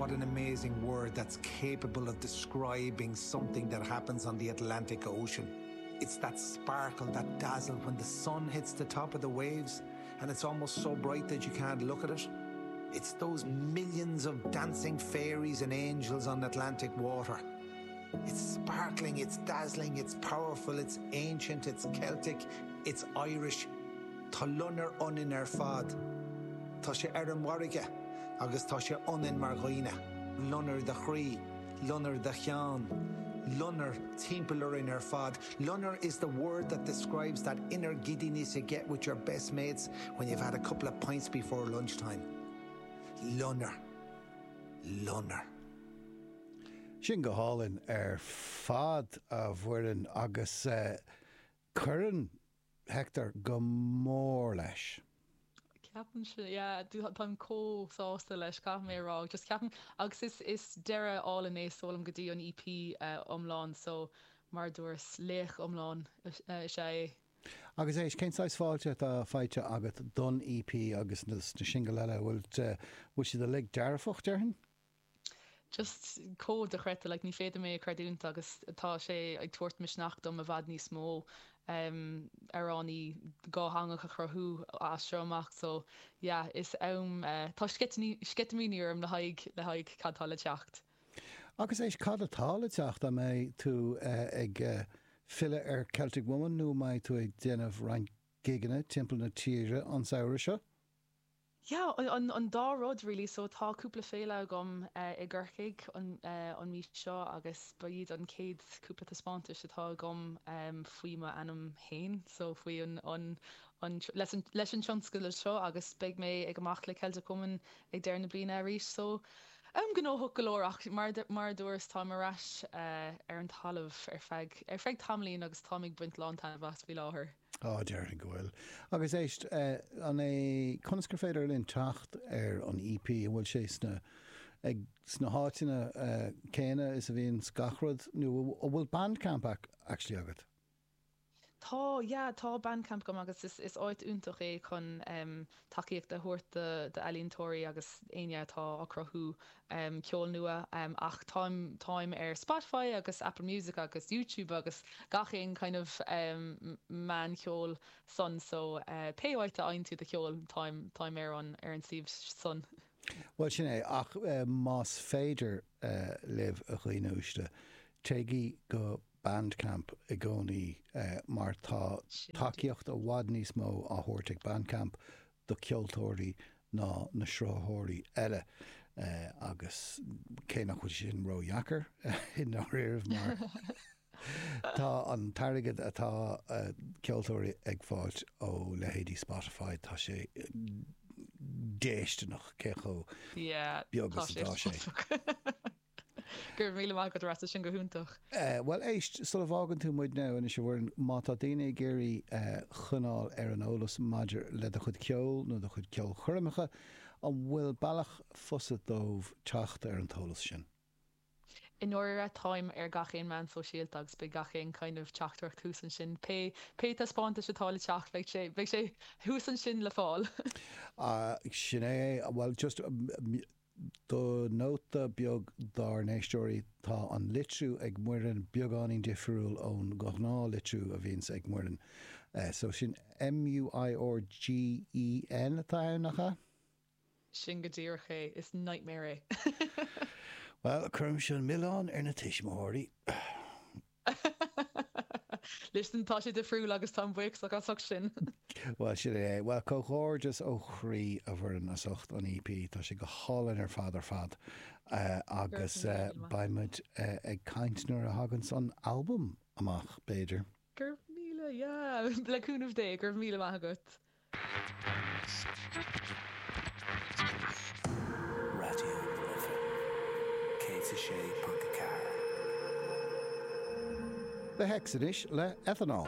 What an amazing word that's capable of describing something that happens on the Atlantic Ocean. It's that sparkle, that dazzle when the sun hits the top of the waves and it's almost so bright that you can't look at it. It's those millions of dancing fairies and angels on Atlantic water. It's sparkling, it's dazzling, it's powerful, it's ancient, it's Celtic, it's Irish. Tá loinnir ionainn ar fad. Tá sé ar an bhfarraige agus tá sé ionainn mar dhaoine. Loinnir do chroí, loinnir do cheann, loinnir timpeall orainn ar fad. Loinnir is the word that describes that inner giddiness you get with your best mates when you've had a couple of pints before lunchtime. Loinnir. Loinnir. Sin go hálainn ar fad, a Mhuireann, agus cuireann Hector go mór leis. Ceapaimse, yeah, táim chomh sásta leis, caithfidh mé a rá. Just ceapaim, agus is, is deireadh álainn é is dóigh liom go dtí an EP iomlán, so mar a dúras, laoch iomlán is ea é. Agus éist, cén saghas fáilte atá faighte agat don EP agus na singil eile? Bhfuil, bhfuil siad uilig dearfach, déarfainn? Just chomh dochreidte, like ní féidir mé a chreidiúint agus tá sé ag tabhairt misneach dom i bhfad níos mó amhránaí dhátheangach a chruthú as seo amach so yeah is am tá sceitimíní orm le haghaidh le haghaidh cad tá le teacht. Agus éist, cad atá le teacht? An mbeidh tú ag filleadh ar Celtic Woman nó an mbeidh tú ag déanamh roinnt gigeanna timpeall na tíre an samhradh seo? Yeah, an dá rud really. So tá cúpla féile agam i gCorcaigh an mhí seo agus ba iad an chéad cúpla taispeántais atá agam faoi m'ainm féin, so faoi an, an, leis an, leis an tionscadal seo agus beidh mé ag amach le Celtic Woman ag deireadh na bliana arís. So am gnóthach go leor ach mar, mar a dúras táim ar ais ar an talamh ar feadh, ar feadh tamaillín agus táim ag baint lán taitneamh as faoi láthair. Á, déarfainn go bhfuil. Agus éist, an é, conas gur féidir linn teacht ar an EP? An bhfuil sé sna, ag, sna háiteanna céanna is a bhíonns gach rud, nó an bhfuil Bandcamp actually agat? Tá, yeah, tá Bandcamp agam agus is, is áit iontach é chun tacaíocht a thabhairt do, d'ealaíontóirí agus éinne atá á cruthú ceol nua ach táim, táim ar Spotify agus Apple Music agus YouTube agus gach aon kind of meán cheoil san so pé áit a fhaigheann tú do cheol táim, táim ar an, ar an suíomh san. Bhuel sin é, ach más féidir libh a dhaoine uaisle, téigí go Bandcamp i gcónaí mar tá tacaíocht i bhfad níos mó á thabhairt ag Bandcamp do cheoltóirí ná na sruthaitheoirí eile agus cé nach bhfuil sé sin ródheacair i ndáiríribh mar tá an t-airgead atá ceoltóirí ag fáilt ó leithéidí Spotify, tá sé déistineach cé chomh beag is atá sé. Go raibh míle maith agat a Rossa, sin go hiontach. Bhuel éist, sula bhfágann tú muid now anois a Mhuireann, má tá daoine ag iarraidh coinneáil ar an eolas maidir le do chuid ceoil nó do chuid ceolchoirmeacha, an bhfuil bealach fusa dóibh teacht ar an t-eolas sin? I ndáiríre, táim ar gach aon meán sóisialta agus beidh gach aon kind of teachtaireacht thuas ansin. Pé, pé taispeántais atá le teacht, beidh sé, beidh sé thuas ansin le fáil. Sin é, bhuel just, Do nóta beag dár n-éisteoirí, tá an litriú ag Muireann beagáinín difriúil ón ghnáthlitriú a bhíonns ag Muireann. So sin M-U-I-R-G-E-N atá ann, nach ea? Sin go díreach é. Is nightmare é. Bhuel, cuirimse an milleán ar na tuismitheoirí. Listen, tá sé difriúil agus táim buíochasach as ucht sin. Bhuel, sin é. Bhuel, comhghairdeas ó chroí, a Mhuireann, as ucht an EP. Tá sé go hálainn ar fad ar fad. Agus beidh muid ag caint nuair a thaganns an albam amach, b'fhéidir. Go raibh míle, yeah, le cúnamh Dé, go raibh míle maith agat. Raidió na Life 106.4. The Hex anois le Ethanol.